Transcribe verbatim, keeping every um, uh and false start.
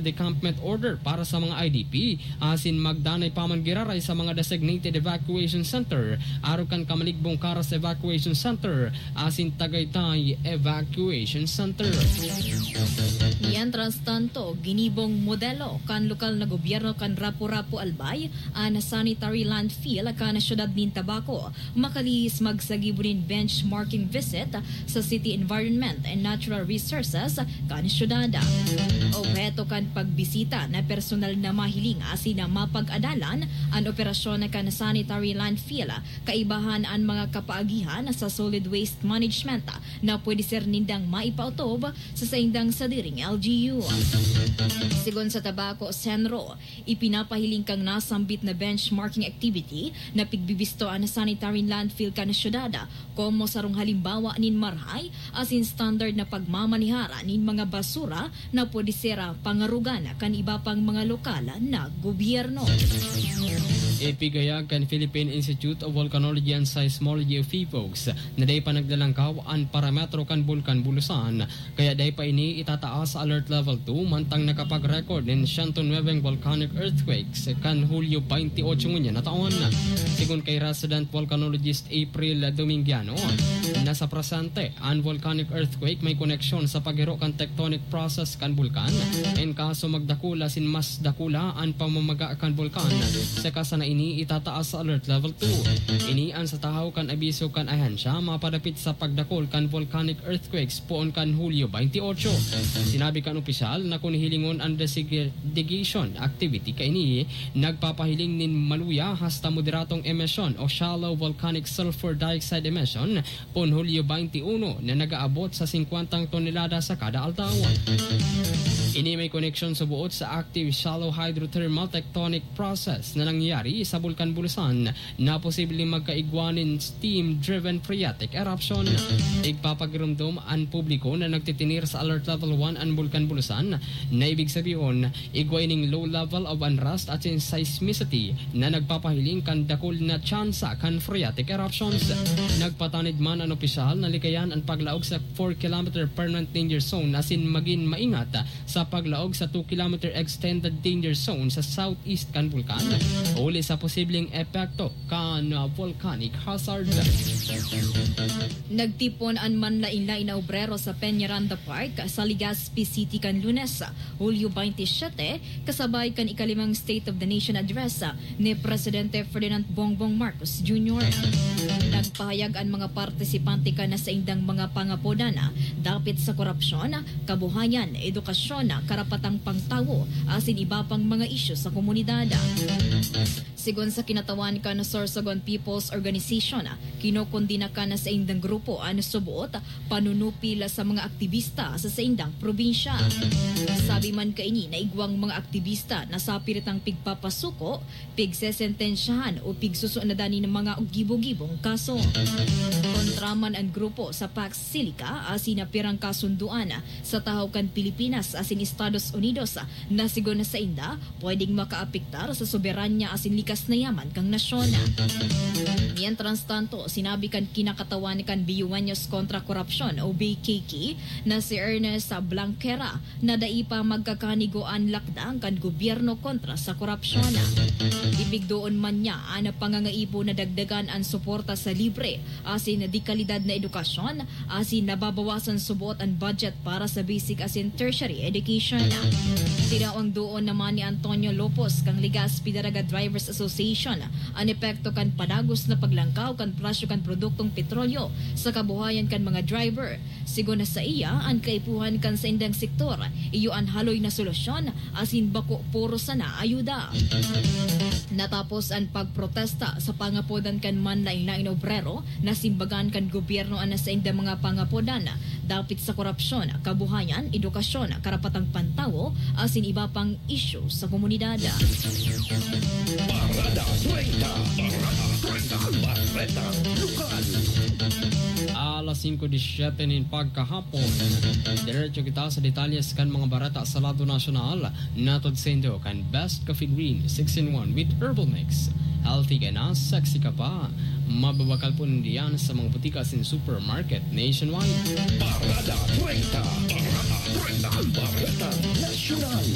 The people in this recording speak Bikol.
decampment order para sa mga I D P, asin magdanay pa man giraray sa mga designated evacuation center, arog kan Camaligbong Caras Evacuation Center asin Tagaytay Evacuation Center. Mientras tanto, ginibong modelo kan lokal na gobyerno kan Rapu-Rapu Albay an sanitary landfill kan siyudad nin Tabaco, makalihis magsagibo nin benchmarking visit sa City Environment and Natural Resources kan syudad. Obheto kan pagbisita na personal na mahiling asin na mapag-adalan an operasyon kan sanitary landfill, kaibahan an mga kapaagihan sa solid waste management na pwede ser nindang maipaotob sa saindang sadiring L G U. Sigon sa Tabaco Senro, ipinapahiling kan nasambit na benchmarking activity na pigbibisto an sanitary landfill kan syudad, komo sarong halimbawa nin marahay asin standard na pagmamanehar nin mga basura na pwede ser pangarogan kan iba pang mga lokal na gobyerno. Ipigayag kan Philippine Institute of Volcanology and Seismology o PHIVOLCS na dai pa naglalangkaw an parametro kan Bulkan Bulusan, kaya dai pa ini itataas sa Alert Level two, mantang nakapag-record nin siyento nuwebeng volcanic earthquakes kan Hulyo twenty-eight ngunyan na taon. Sigon kay resident volcanologist April Domingiano, na sa presente, an volcanic earthquake may koneksyon sa paghiro kan tectonic process kan bulkan. In kaso magdakula asin mas dakula an pamamaga kan bulkan, saka sana ini itataas sa Alert Level two. Ini an sa tahaw kan abiso kan ahensya mapadapit sa pagdakul kan volcanic earthquakes poon kan Hulyo twenty-eight. Sinabi kan opisyal na kun hilingon an desigregation activity kaini, nagpapahiling nin maluya hasta moderadong emisyon o shallow volcanic sulfur dioxide emission poon Hulyo twenty-one na nag-aabot sa singkwentang tonelada sa kada aldaw. Ini may koneksyon sa buot sa active shallow hydrothermal tectonic process na nangyayari sa Bulkan Bulusan na posibleng magkaigwa nin steam-driven phreatic eruption. Igpapagiromdom an publiko na nagtitinir sa Alert Level one an Bulkan Bulusan, na ibig sabihon, igwa ining low level of unrest asin seismicity na nagpapahiling kan dakul na tsansa kan phreatic eruptions. Nagpatanid man an opisyal na likayan an paglaog sa four kilometer permanent danger zone asin magin maingat sa paglaog sa two kilometer extended danger zone sa southeast kan bulkan, huli sa posibleng epekto kan volcanic hazard. Nagtipon an manlain-lain na obrero sa Peñaranda Park sa Legazpi City kan Lunes, Hulyo twenty-seven, kasabay kan ikalimang State of the Nation Address ni Presidente Ferdinand Bongbong Marcos Junior. Nagpahayag an mga partisipante kan saindang mga pangapodan dapit sa korupsyon, kabuhayan, edukasyon, karapatang pangtawo, asin iba pang mga isyu sa komunidad. Sigon sa kinatawan kan Sorsogon People's Organization, kinokondena kan saindang grupo an suboot panunupil sa mga aktibista sa saindang probinsya. Sabi man kaini na igwang mga aktibista na sapiritang pigpapasuko, pigsesentensyahan o pigsusunadan nin mga gibo-gibong kaso. Kontra man an grupo sa Pax Silica asin na pirang kasundoan sa tahaw kan Pilipinas asin Estados Unidos na sigon sa inda pwedeng makaapektar sa soberanya asin likas na yaman kan nasyon. Mientras tanto, sinabi kan kinakatawan kan Biueños kontra Korupsyon o B K K na si Ernest Blanquera na dai pa magkakanigo an lakdang kan gobyerno kontra sa korupsyon. Ipigdoon man niya an pangangaipo na dagdagan an suporta sa libre asin de kalidad na edukasyon, asin nababawasan suboot an budget para sa basic asin tertiary education. Tinawang doon naman ni Antonio Lopos kan Legazpi Daraga Drivers Association an epekto kan padagos na paglangkaw kan presyo kan produktong petrolyo sa kabuhayan kan mga driver. Sigon na saiya, an kaipuhan kan saindang sektor iyo an haloy na solusyon asin bako puro sana ayuda. Natapos an pagprotesta sa pangapodan kan manlain-lain na obrero, nasimbagan kan gobyerno an saindang mga pangapodan dapit sa korupsyon, kabuhayan, edukasyon, karapatang pantawo, asin iba pang isyu sa komunidad. Parada treinta. Parada treinta. Bareta Lokal. Alas singko disyete nin pagkahapon. Diretso kita sa detalyes kan mga bareta sa lado nasyonal. Natod saindo kan Best Coffee Green six-in-one with Herbal Mix. Healthy ka na, sexy ka pa. Mababakal po ninda yan sa mga butika asin supermarket nationwide. Parada treinta. Parada treinta. Bareta Nasyonal.